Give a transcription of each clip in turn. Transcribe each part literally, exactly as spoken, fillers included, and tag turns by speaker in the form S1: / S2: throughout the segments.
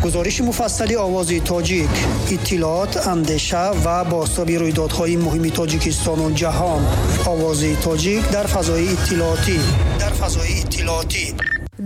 S1: Гузориши муфассали Овози Тоҷик, иттилоот, андеша ва бозтоби рӯйдодҳои муҳими Тоҷикистону ҷаҳон. Овози Тоҷик дар фазои иттилоотӣ. Дар фазои иттилоотӣ.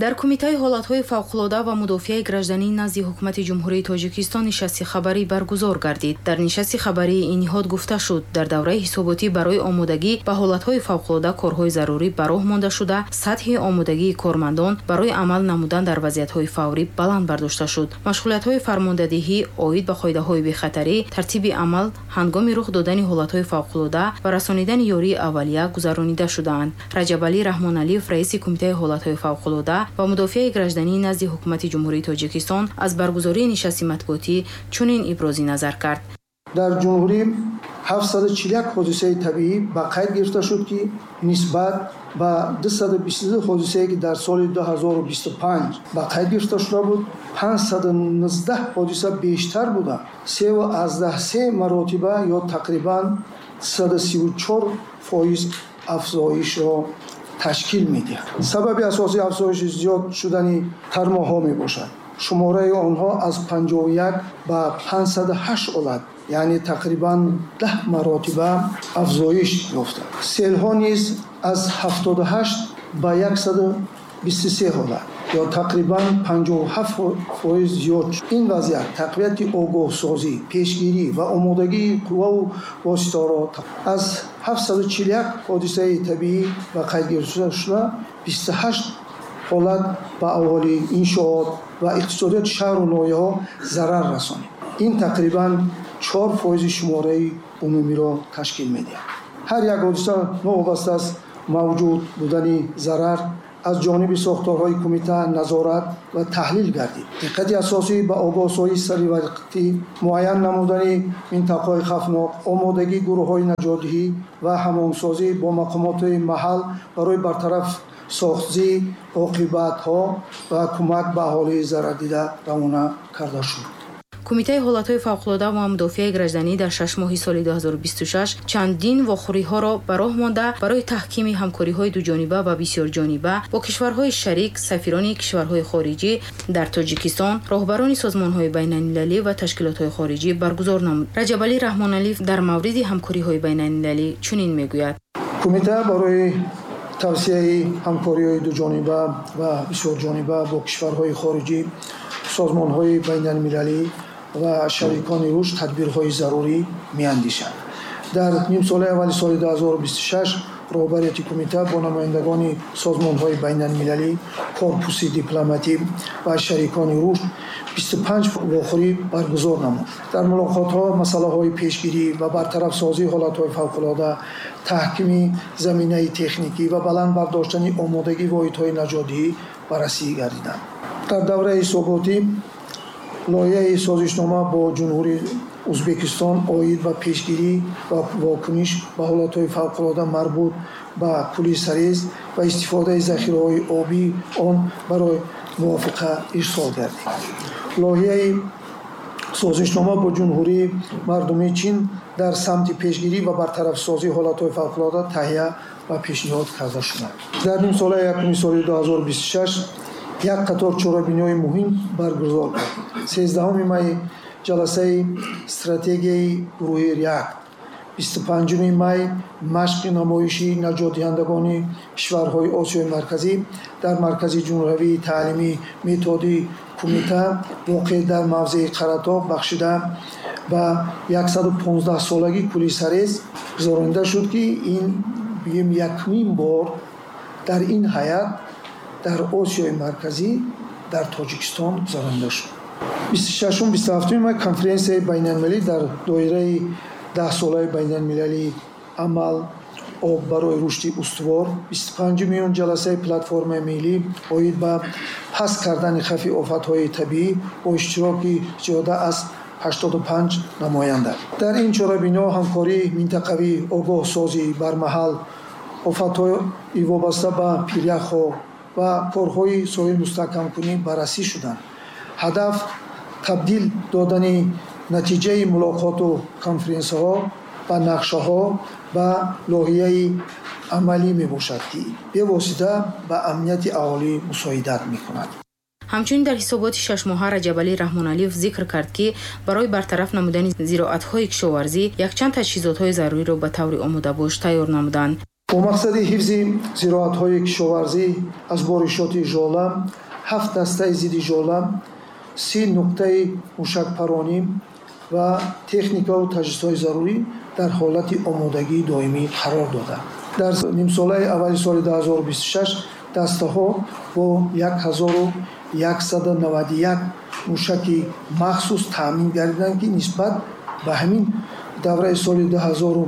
S2: Дар Кумитаи ҳолатҳои фавқулода ва мудофиаи гражданӣ назди Ҳукумати Ҷумҳурии Тоҷикистон нишасти хабарӣ баргузор гардид. Дар нишасти хабарии ин ниҳод гуфта шуд, дар давраи ҳисоботӣ барои омодагӣ ба ҳолатҳои фавқулода корҳои зарурӣ ба роҳ монда шуда, сатҳи омодагии кормандон барои амал намудан дар вазъиятҳои фаврӣ баланд бардошта шуд. Машғулиятҳои фармондадиҳӣ оид ба қоидаҳои бехатарӣ, тартиби амал ҳангоми рух додани ҳолатҳои фавқулода ва расонидани ёрии аввалия гузаронида шудаанд. Раҷабалӣ Раҳмоналиев, раиси Кумитаи ҳолатҳои фавқулода ва мудофиаи гражданӣ назди Ҳукумати Ҷумҳурии Тоҷикистон, аз баргузории нишасти матбуотӣ чунин ибрози назар кард.
S3: Дар ҷумҳурӣ ҳафтсаду чилу як ҳодисаи табиӣ ба қайд гирифта шуд, ки нисбат ба дусаду бисту ду ҳодисае, ки дар соли ду ҳазору бисту панҷ ба қайд гирифта шуда буд, панҷсаду нуздаҳ ҳодиса бештар буда, севу аздаҳ се маротиба ё тақрибан саду сиву чор фоиз афзоишро ташкил медиҳад. Сабаби асосии афзоиши зиёд шудани тармоҳҳо мебошад. Шумораи онҳо аз панҷоҳу як ба панҷсаду ҳашт ҳолат, яъне тақрибан даҳ маротиба афзоиш ёфта. Селҳо низ аз ҳафтоду ҳашт ба яксаду бисту се ҳолат ё тақрибан панҷоҳу ҳафт фоиз зиёд шуд. Ин вазъият тақвияти огоҳсозӣ, пешгирӣ ва омодагии қувваву воситаҳоро аз ҳафтсаду чилу як ҳодисаи табиӣ ба қайд гирифта шуда, бисту ҳашт ҳолат ба аҳолӣ, иншоот ва иқтисодиёти шаҳру ноҳияҳо зарар расонид. Ин тақрибан чор фоизи шумораи умумиро ташкил медиҳад. Ҳар як ҳодиса новобаста аз мавҷуд будани зарар аз ҷониби сохторҳои кумита назорат ва таҳлил гардид. Диққати асосӣ ба огоҳсозии саривақтӣ, муайян намудани минтақаҳои хавфнок, омодагии гурӯҳҳои наҷотдиҳӣ ва ҳамоҳангсозӣ бо мақомоти маҳал барои бартараф сохтии оқибатҳо ва кӯмак ба аҳолии зарардида равона карда шуд.
S2: Кумитаи ҳолатҳои фавқулода ва мудофиаи гражданӣ дар шаш моҳи соли ду ҳазору бисту шаш чандин вохӯриҳоро ба роҳ монда барои таҳкими ҳамкориҳои дуҷониба ва бисёрҷониба бо кишварҳои шарик, сафирони кишварҳои хориҷӣ дар Тоҷикистон, роҳбарони созмонҳои байналмилалӣ ва ташкилотҳои хориҷӣ баргузор намуд. Раҷабалӣ Раҳмоналиев дар мавриди ҳамкориҳои байналмилалӣ чунин мегӯяд.
S3: Кумита барои тавсияи ҳамкориҳои дуҷониба ва бисёрҷониба бо кишварҳои хориҷӣ, созмонҳои байналмилалӣ ва шарикони рушд тадбирҳои зарурӣ меандешад. Дар нимсолаи аввали соли ду ҳазору бисту шаш роҳбарияти кумита бо намояндагони созмонҳои байналмилалӣ, корпуси дипломатӣ ва шарикони рушд бисту панҷ вохӯрӣ баргузор намуд. Дар мулоқотҳо масъалаҳои пешгирӣ ва бартарафсозии ҳолатҳои фавқулода, таҳкими заминаи техникӣ ва баланд бардоштани омодагии воҳидҳои наҷотдиҳӣ баррасӣ гардиданд. Дар давраи ҳисоботӣ лоиҳаи созишнома бо Ҷумҳурии Ӯзбекистон оид ба пешгирӣ ва вокуниш ба ҳолатҳои фавқулода марбут ба кӯли Сарез ва истифодаи захираҳои обии он барои мувофиқа ирсол гардид. Лоиҳаи созишнома бо Ҷумҳурии Мардумии Чин дар самти пешгирӣ ва бартарафсозии ҳолатҳои фавқулода таҳия ва пешниҳод карда шуданд. Дар нимсолаи якуми соли ду ҳазору бисту шаш як қатор чорабиниҳои муҳим баргузор гардид. Сездаҳуми май ҷаласаи стратегияи гурӯҳи РЕАКТ, бисту панҷуми май машқи намоиши наҷотдиҳандагони кишварҳои Осиёи Марказӣ дар Маркази ҷумҳуриявии таълимии методии кумита воқеъ дар мавзеи Қаратоғ бахшида ба яксаду понздаҳсолагии кӯли Сарез гузаронида шуд, ки ин бигем якумин бор дар ин ҳайат дар Осиёи Марказӣ дар Тоҷикистон гузаронида шуд. бисту шашум бисту ҳафтуми май конференсияи байналмилалӣ дар доираи даҳсолаи байналмилалии амал об барои рушди устувор, бисту панҷуми июн ҷаласаи платформаи миллӣ оид ба паст кардани хавфи офатҳои табиӣ бо иштироки зиёда аз ҳаштоду панҷ намоянда. Дар ин чорабиниҳо ҳамкории минтақавӣ, огоҳсозӣ бармаҳал, офатҳои вобаста ба пиряхҳо ва корҳои соҳил мустаҳкамкунӣ баррасӣ шуданд. Ҳадаф табдил додани натиҷаи мулоқоту конференсияҳо ба нақшаҳо ба лоиҳаи амалӣ мебошад, ки бевосита ба амнияти аҳолӣ мусоидат мекунад.
S2: Ҳамчунин дар ҳисоботи шашмоҳа Раҷабалӣ Раҳмоналиев зикр кард, ки барои бартараф намудани зироатҳои кишоварзӣ якчанд таҷҳизотҳои заруриро ба таври омодабош тайёр намуданд.
S3: Бо мақсади ҳифзи зироатҳои кишоварзӣ аз боришоти жола, ҳафт дастаи зидди жола, си нуқтаи мушакпаронӣ ва техникаву таҷҳизотҳои зарурӣ дар ҳолати омодагии доимӣ қарор дода. Дар нимсолаи аввали соли ду ҳазору бисту шаш дастаҳо бо як ҳазору яксаду наваду як мушаки махсус таъмин гардиданд, ки нисбат ба ҳамин давраи соли ду ҳазору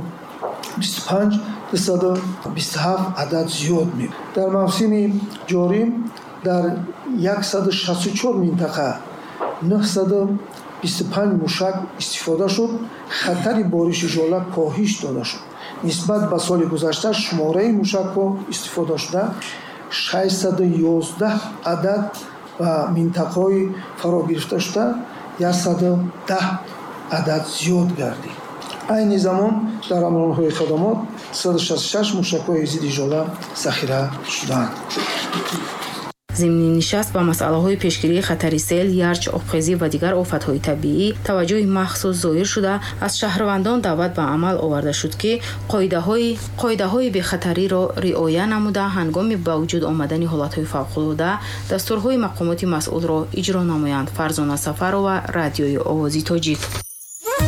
S3: бисту панҷ дусаду бисту ҳафт адад зиёд мебошад. Дар мавсими ҷорӣ дар яксаду шасту чор минтақа нӯҳсаду бисту панҷ мушак истифода шуд. Хатари бориши жола коҳиш дода шуд. Нисбат ба соли гузашта шумораи мушакҳо истифодашуда шашсаду ёздаҳ адад ва минтақаҳои фаро гирифташуда яксаду даҳ адад зиёд гардид. Айни замон дар амалҳои хадамот саду шасту шаш мушакҳои зидди жола захира шудаанд.
S2: Зимни нишаст ба масъалаҳои пешгирии хатари сел, ярч, обхезӣ ва дигар офатҳои табиӣ таваҷҷӯҳи махсус зоҳир шуда, аз шаҳрвандон даъват ба амал оварда шуд, ки қоидаҳои бехатариро риоя намуда, ҳангоми ба вуҷуд омадани ҳолатҳои фавқулода дастурҳои мақомоти масъулро иҷро намоянд. Фарзона Сафарова, Радиои Овози Тоҷик.